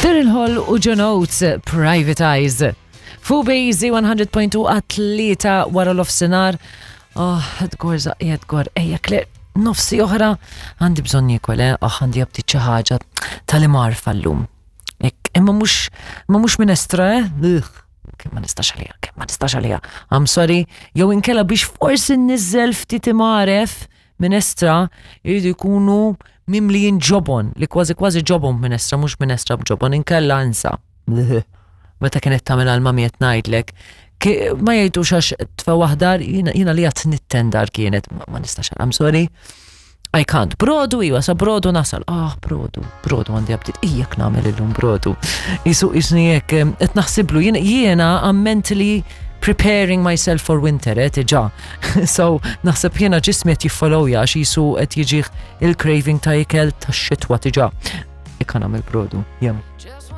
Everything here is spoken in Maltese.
Daryl Hall u John Oates, Private Eyes. Fu Bejzi 100.2 għat-tlieta wara l-ofsinar. Oh, Edgar, zaqqi Edgar, ejja Claire, nofsi oħra għandi bżonn niekol, eh? Oh, għandi għabti xi ħaġa tal-imar fallum. Ek, imma mhux ma mhux minestra, eh? Ugh, kemm ma nistax għaliha, kemm ma nistax għaliha. I'm sorry, jew inkella biex forsi nniżżel ftit imgħaref minestra jridu jkunu mimlijin ġobon, li kważi kważi ġobon b'minestra, mhux minestra b'ġobon, inkella insa. Meta kienet tagħmel għal mami qed ngħidlek, ma jgħidux għax tfa waħdar, jiena li għat nittendar kienet, ma nistax, I'm sorry. I can't. Brodu, iwa, sa brodu nasal. Ah, brodu, brodu għandi għabtit. Ijak namel illum brodu. Isu isni jek, qed naħsiblu, jiena I'm mentally preparing myself for winter, eh, tiġa. So, naħseb jiena ġismi qed jiffollowja għax jisu qed jiġih il-craving ta' ikel ta' xitwa tiġa. Ikka nagħmel brodu, jem.